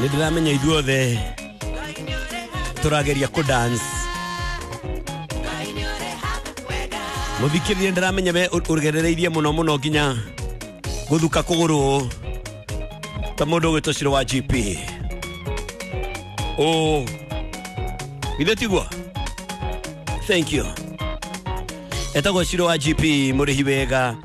Nĩ ndĩramenya ithuothe tũrageria kũ dance. Mũthikĩrĩria, ndĩramenya we ũgerereirie mũno mũno nginya gũthuka kũgũrũ ta mũndũ ũgwĩtwo Ciro wa GP. Ũ githĩ tiguo? Thank you. Etagwo Ciro wa GP, mũrĩhi wega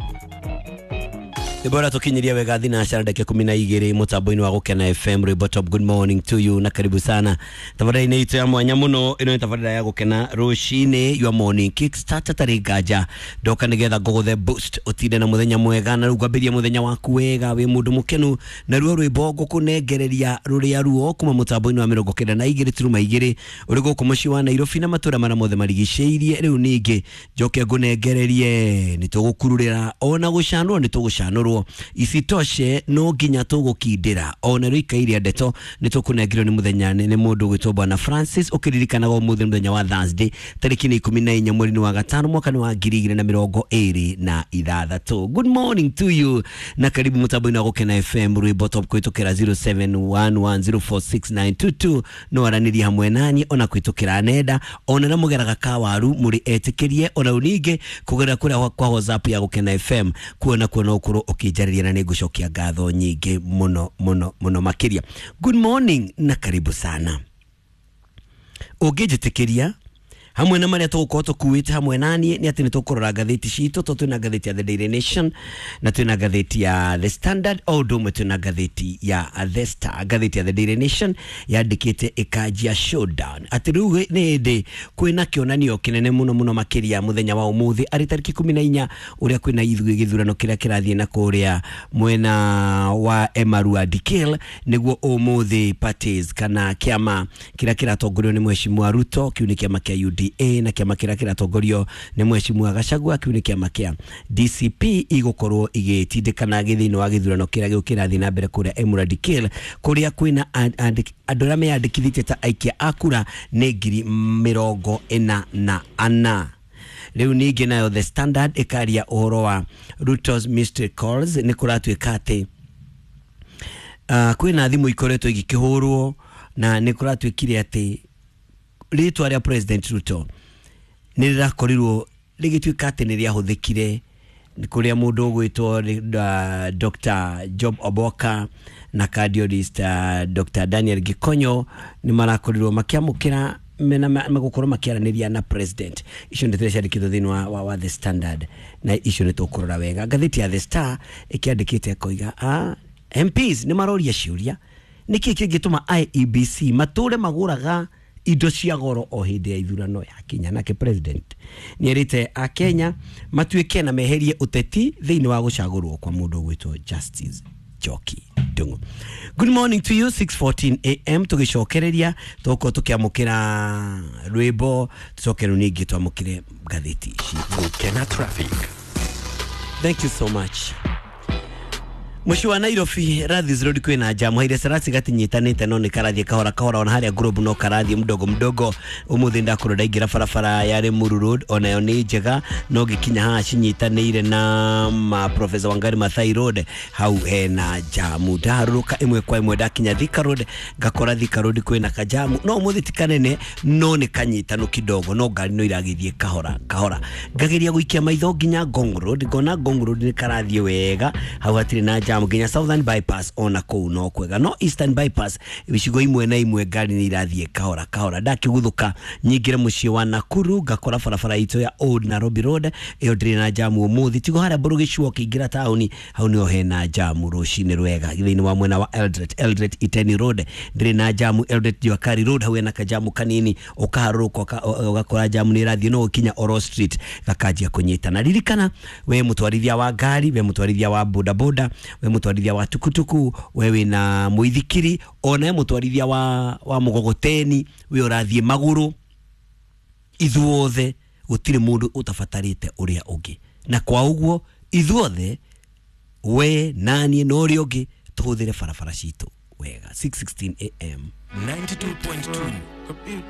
rwĩmbo tũkinyiria wega thinacara ndagĩka 12 mũtambo-inĩ wa Gũkena FM, rwĩmbo top. Good morning to you na karibu sana tabarĩra-inĩ itũ ya mwanya mũno. Ĩno nĩ tabarĩra ya Gũkena rũcinĩ, your morning kickstart. Atarĩ nganja ndoka nĩgetha ngũgũthe boost, ũtinde na mũthenya mwega, na rĩu ngwambĩria mũthenya waku wega wĩ mũndũ mũkenu. Na ruo rwĩmbo ngũkũnengereria rũrĩa ruo kuma mũtambo-inĩ wa 92.2 ũrĩ gũkũ mũciĩ wa Nairobi na matũra marĩa mothe marigicĩirie. Rĩu ningĩ njoke ngũnengererie nĩ tũgũkururĩra ona gũcanũrwo, nĩ tũgũcanũrwo, isitoshe no nginya tũgũkindĩra ona rĩu ikairia ndeto nĩ tũkũnengerio nĩ mũthenya nĩ mũndũ ũgwĩtwo Bwana Francis. Ũkĩririkanaga ũmũthĩ nĩ mũthenya wa Thursday, tarĩki nĩ 14 mweri-inĩ wa gatano, mwaka nĩ wa 2026. Good morning to you na karibu mũtambo-inĩ wa Gũkena FM, rwĩmbo top, kũhĩtũkĩra 0711046922 no aranĩrie hamwe nani, ona kũhĩtũkĩra nenda, ona na mũgeraga kawaru mũrĩ etĩkĩrie, ona rĩu ningĩ kũgerera kũrĩa kwa WhatsApp ya Gũkena FM kuona kuona ũkorwo ũkĩnjarĩria, na nĩ ngũcokia ngatho nyingĩ mũno mũno mũno makĩria. Good morning na karibu sana. Ũngĩnjĩtĩkĩria, hamwe na marĩa tũgũkorwo tũkuĩte hamwe naniĩ nĩ atĩ nĩ tũkũrora ngathĩti citũ, to twĩna ngathĩti ya The Daily Nation na twĩna ngathĩti ya The Standard, o ũndũ ũmwe twĩna ngathĩti ya The Star. Ngathĩti ya The Daily Nation yandĩkĩte ĩkanjia showdown atĩ rĩu nĩ hĩndĩ kwĩna kĩonanio kĩnene mũno mũno makĩria mũthenya wa ũmũthĩ arĩ tarĩki 14, ũrĩa kwĩna ithuĩ gĩthurano kĩrĩa kĩrathiĩ na kũrĩa mwena wa Emurua Dikirr, nĩguo ũmũthĩ parties kana kĩama kĩrĩa kĩratongorio nĩ Mheshimiwa Ruto, kĩu nĩ kĩama kĩa UDA, na kĩama kĩrĩa kĩratongorio nĩ Mheshimiwa Gachagua, kĩu nĩ kĩama kĩa DCP, igũkorwo igĩtindĩkana thĩinĩ wa gĩthurano kĩrĩa kĩrathiĩ na mbere kũrĩa Emurua Dikirr, kũrĩa kwĩna andũ arĩa meyandĩkithĩtie ta aikia a kura nĩ 44,000. Rĩu ningĩ nayo The Standard ĩkaria ũhoro wa Ruto's mystery calls. Nĩ kũratuĩka atĩ kwĩna thimũ ikoretwo igĩkĩhũrwo, na nĩ kũratuĩkire atĩ rĩtwa rĩa President Ruto nĩ rĩrakorirwo rĩgĩtuĩka atĩ nĩ rĩahũthĩkire kũrĩa mũndũ ũgwĩtwo Dr. Job Oboka na cardiologist Dr. Daniel Gikonyo nĩ marakorirwo makĩamũkĩra mena magũkorwo makĩaranĩria na president. Icio nĩ ciandĩkĩtwo thĩinĩ wa The Standard, na icio nĩ tũkũrora wega. Ngathĩti ya The Star ĩkĩandĩkĩte ĩkoiga MPs nĩ maroria ciũria nĩkĩ kĩngĩtũma IEBC matũre magũraga indo cia goro o hĩndĩ ya ithurano ya kinya. Nake president nĩ erĩte akenya matuĩke na meherie ũteti thĩinĩ wa gũcagũrwo kwa mũndũ ũgwĩtwo Justice Njoki Ndung'u. Good morning to you, 6:14 am. Tũgĩcokereria tũgũkorwo tũkĩamũkĩra rwĩmbo, tũcoke rĩu ningĩ twamũkĩre ngathĩti ici. Gũkena Traffic. Thank you so much. Mũciĩ wa Nairobi, Rathis Road kwĩna jamu, Haile Selassie gatinyitanĩte no nĩ karathiĩ kahora kahora, ona harĩa Globe no karathiĩ mdogo mdogo. Ũmũthĩ ndakorwo ndaingĩra barabara ya Limuru Road, onayo nĩ njega, no ngĩkinya haha cinyitanĩire na ma Professor Wangari Maathai Road, hau hena jamu. Ndaharũrũka ĩmwe kwa ĩmwe ndakinya Thika Road, ngakora Thika Road kwĩna kajamu, no ũmũthĩ ti kanene, no nĩ kanyitanu kidogo, no ngari no iragĩthiĩ kahora kahora. Ngageria gũikia maitho nginya Ngong Road, ngona Ngong Road nĩ karathiĩ wega, hau hatirĩ na jamu, nginya Southern Bypass ona kũu no kwega, no Eastern Bypass icigo imwe na imwe ngari nĩ irathiĩ kahora kahora. Ndakĩguthũka nyingĩre mũciĩ wa Nakuru, ngakora barabara itũ ya Old Nairobi Road ĩyo ndĩrĩ na jamu ũmũthĩ, tigo harĩa Mbũrũgĩcua ũkĩingĩra taũni, hau nĩho hena jamu rũcinĩ rwega. Thĩinĩ wa mwena wa Eldoret, Eldoret Iten Road ndĩrĩ na jamu, Eldoret Juakari Road hau hena kajamu kanini, ũkaharũrũka ũgakora jamu nĩ ĩrathiĩ, no ũkinya Oro Street gakanjia kũnyitana. Ririkana we mũtwarithia wa ngari, we mũtwarithia wa bodaboda, we mũtwarithia wa tukutuku, we wĩna mũithikiri, ona we mũtwarithia wa mũgogoteni, we ũrathiĩ magũrũ, ithuothe gũtirĩ mũndũ ũtabatarĩte ũrĩa ũngĩ, na kwa ũguo ithuothe, we naniĩ na ũrĩa ũngĩ, tũhũthĩre barabara citũ wega. 6:16 am. 92.2.